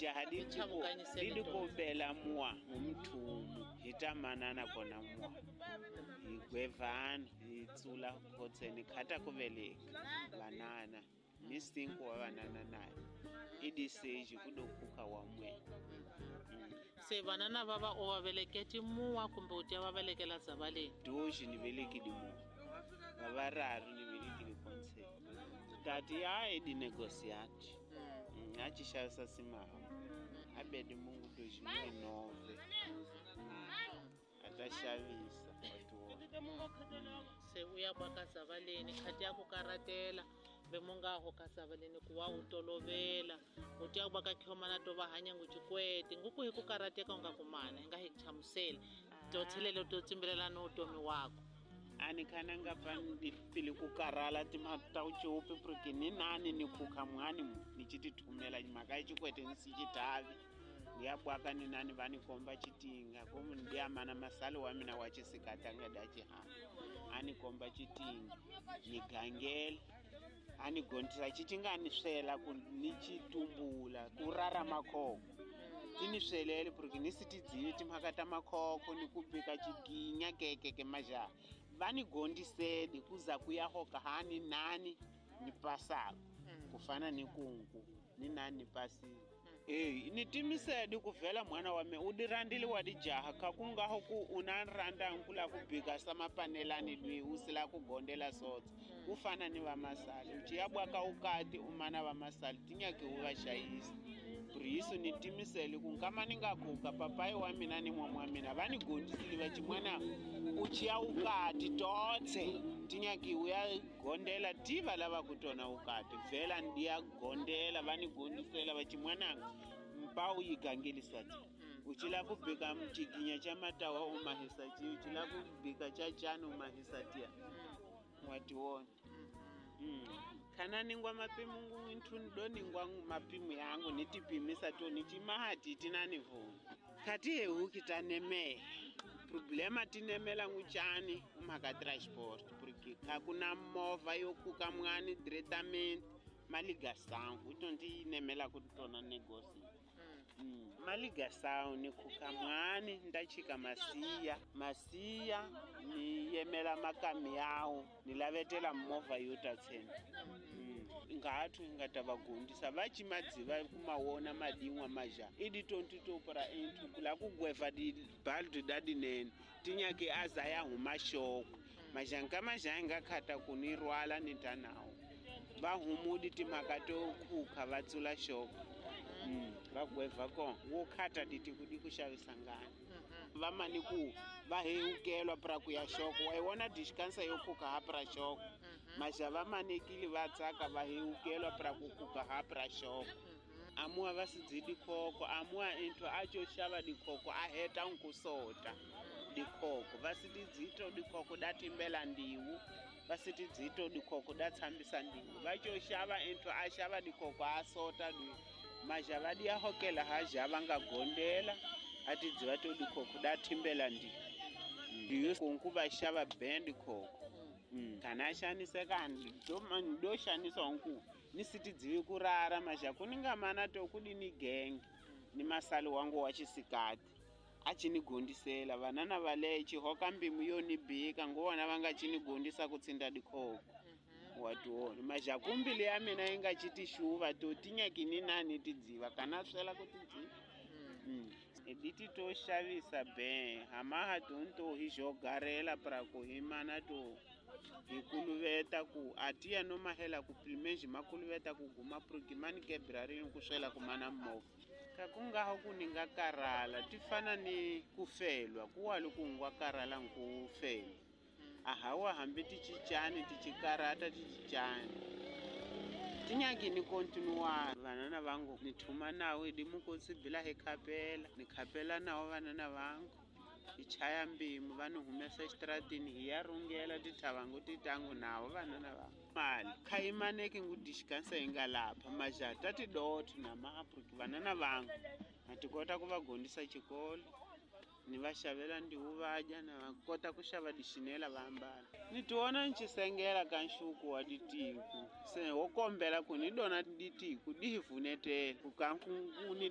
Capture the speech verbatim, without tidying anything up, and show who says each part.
Speaker 1: Dijaha di di dikobela mua ngumthumu hitamanana kona mua higwevana hitsula khotseni khata kuveleka vanana ni sinku wa vanana naye idiseji kudokuka wa mwe. Mm.
Speaker 2: Se vanana va va o va veleketi muwa kumbe u tya va velekela dzavaleni?
Speaker 1: Doji ni velekile muwa va vararu ni velekile khontseni tati ya edi negociati mm. A ci xavisa simaha a bedi mungu doji mwe nove a ta xavisa wa
Speaker 2: se u ya baka dzavaleni khati ya ku karatela be munga ho ka dzavaleni ku wa u tolovela u tya baka khomana to va hanya ngu cikwete nguku hi ku karateka u nga kumana hi nga hi hlamusela to tshelele to tsimbelela no utomi wako.
Speaker 1: Ani khana nga pa pili ku karala timhaka ta ucopi porque ni nani ni khukha mwani ni ci tithumela mhaka ya cikwete ni si citavi ni ya bwaka ni nani va ni komba citinga komu ni ya mana masali wa mina wa cisikata nga da cihana a ni komba citinga ni gangela a ni gontisa citinga ni swela ku ni citumbula ku rara makhoko ti ni swelele porque ni si tidzivi timhaka ta makhoko ni ku bika ciginya kekeke majaha va ni gondiseli kuza ku ya hoka hani nani ni pasako ku fana ni kunku ni nani ni pasile. Eh ni timisedi ku vhela mwana wa me u dirandile wa dijaha kha ku nga ho ku u na randa nkula ku bika sa mapanelani lwi u sila ku gondela sotsa ku fana ni va masali u ciya bwaka ukati u mana va masali tinyaki u va xayisa priso ni timiseli ku nkama ni nga kuka papai wa mina ni mwa wa mina va ni gondisile va cimwana u ciya ukati totse tinyaki u ya gondela tiva lava ku tona ukati vhela ndiya gondela va ni gondisela va cimwananga mpa u yi gangeliswa ti u cila ku bika mciginya cha matawa u mahisa ti u cila ku bika cha chani u mahisa tia wa tiwona. Mm. Kana ningwa mapimu ngu intu ndo ningwa mapimu yangu nitipimisa to nichimahati tinanivuna kati hehuki tanemela problema tinemela nguchani umhaka transport porque kakuna movha yo kuka mwani directamente maliga sound utonti nemela kutona negosi. Mm. Maliga sound ni kuka mwani ndachika masiya masiya ni yemela makami yawo ni lavetela movha yo tatsena. Mm. Ngathu ngata vagundisa vachimadziva kumawona madinwa maja idi tonti topra into kula kugweva di baldu dadinene tinyake azaya humashoko majanka majanga khata kunirwala nitanawo va humudi timhaka to kukha va tsula xoko. Mm. Va gweva kona wo khata diti kudi ku xavisa ngani va mani ku va hewukelwa pra ku ya xoko wa iwona diskansa yo kuka ha pra xoko maja va manekile va tsaka va hewukelwa pra ku kuka ha pra xoko amua va si dyi dikhoko amua into a co xava dikhoko a heta nkusota dikhoko va si tidzito dikhoko da timbela ndiwu va si tidzito dikhoko da tshambisa ndiwu va co xava into a xava dikhoko a sota dwi maja va diya hokela ha ja va nga gondela a tidziva to dikhoko da timbela ndiwu ndiyo kunku va xava band khoko. Mm. Kana xaniseka ndo xanisa nku ni si tidzivi ku rara maja ku ni nga mana to ku di ni genge ni masali wangu wa xisikati a ci ni gondisela vanana va leyi xihoka mbimu yo ni bika nguvona va nga ci ni gondisa ku tsinda dikhoko wa tiwona maja kumbili ya mina yi nga ci tixuva to tinyaki ni nani tidziva kana swela ku tidziva. Mm. Editi to xavisa be hamaha tonto hi jogarela pra ku hi mana to hi kuluveta ku atiya no mahela ku primeji makuluveta ku guma progimani kebrari ku swela ku mana movha ka ku nga ho ku ni nga karala ti fana ni ku felwa ku wa loko ngwa karala nku felwa a hawa hambi ti cincani ti cikarata ti cincani tinyaki ni kontinua vanana vangu ni thuma nawo di mukotsi bila hi khapela ni khapela nawo vanana vangu hi chaya mbimu va ni humesa exitratini hi ya rungela tithavangu titangu nawo vanana vangu mali khayimaneki ngu diskansa yi nga lapha majata tidotho na maapuriki vanana vangu na ti kota ku va gondisa xikolo ni va xavela ndiwu va dya na va kota ku xava dixinela va ambala ni tiwona ni cisengela ka nxuku wa ditiku se wo kombela ku ni dona ditiku di hi vunetela ku ka ku ni